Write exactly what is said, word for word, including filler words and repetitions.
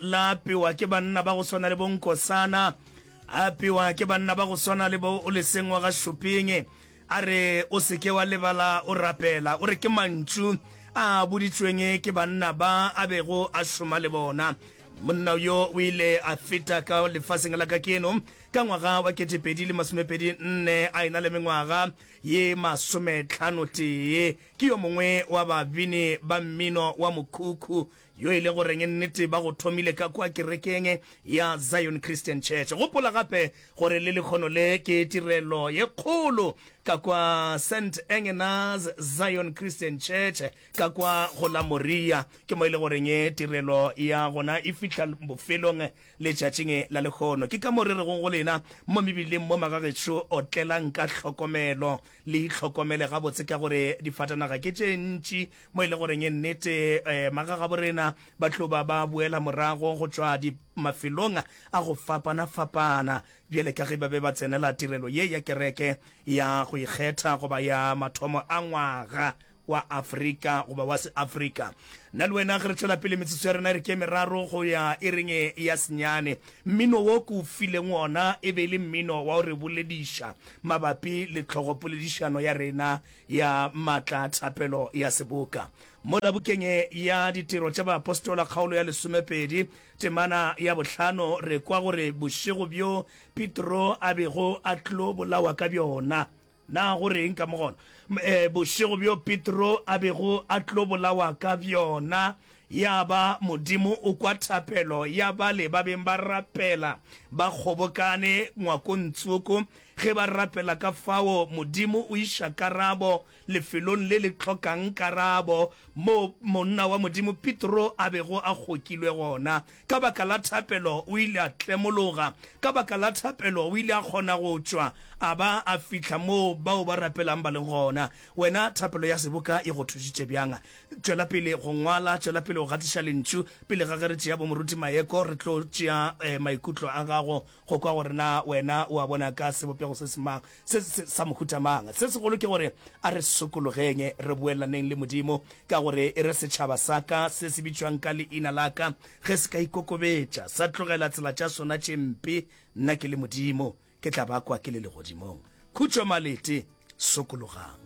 La apewa ke banna ba go swana le bo Nkosana, a apewa ke banna ba go swana le bo Oleseng wa ga Shuping. A re, O se ke wa lebala o rapela. O re ke mantšu a boditšweng ke banna ba a bego a šoma le bona. Monna yo o ile a feta ka lefaseng la kakeno ka ngwaga wa ketepedi le masomepedi nne a ena le mengwaga ye masometlhano tee. Ke yo mongwe wa babini ba mmino wa mokhukhu yo e le goreng nnete ba go thomile ka kua kerekeng ya Zion Christian Church. Gopola gape gore le lekgono le ke tirelo ye kgolo ka kwa Saint Engenas Zion Christian Church ka kwa go la Moria. Ke mo e le goreng tirelo ya gona e fihla bofelong letšatšing la lekgono. Ke ka mo re rego go lena mo mebileng mo magagešo, otlelang ka hlokomelo, le itlhokomele gabotse ka gore difatanaga ke tše ntši mo e le goreng nnete eh, magagaborena ba tlo ba ba boela morago go tšwa mafelong a go fapana-fapana bjale ka ge ba be ba tsenela tirelo ye ya kereke ya go ikgetha goba ya mathomo a ngwaga wa Afrika goba wa Seafrika. Nna le wena ge re tšwela pele metsotso ya rena e re ke meraro go ya iring ya senyane. Mmino wo ke o fileng wona e be e le mmino wa go re bolediša mabapi le tlhogopoledišano ya rena ya maatla a thapelo ya seboka. Mola bukeng ya Ditiro tša Baapostola kgaolo ya lesomepedi temana ya bohlano re kwa gore bošego bjo Petro a bego a tlo bolawa ka bjona, Na go reng ka mo gona? E, bošego bjo Petro a bego a tlo bolawa ka bjona, ya ba Modimo o kwa thapelo ya bale ba beng ba rapela ba kgobokane ngwakong tsoko. Ge ba rapela ka fao, Modimo o iša karabo lefelong le le hlokang karabo, moo monna wa Modimo Petro a bego a kgokilwe gona. Ka baka la thapelo o ile a tlemologa. Ka baka la thapelo o ile a kgona go tšwa a ba a fihla moo bao ba rapelang ba leng gona. Wena, thapelo ya seboka e go thušitše bjang? Tšwela pele go ngwala, tšwela pele go gatiša lentšu. Pele ga ge re tšea bomoruti Maeko, re tlo tšea maikutlo a gago go kwa gore na wena o a bona ka sebopego se se mang, se, se, sa mohuta mang. Se segolo ke gore a re sokologeng, re boelaneng le Modimo, ka gore e re setšhaba sa ka se se bitšwang ka leina la ka, ge se ka ikokobetša, sa tlogela tsela tša sona tše mpe, nna ke le Modimo, ke tla ba kwa ke le legodimong. Khutšo malete, sokologang.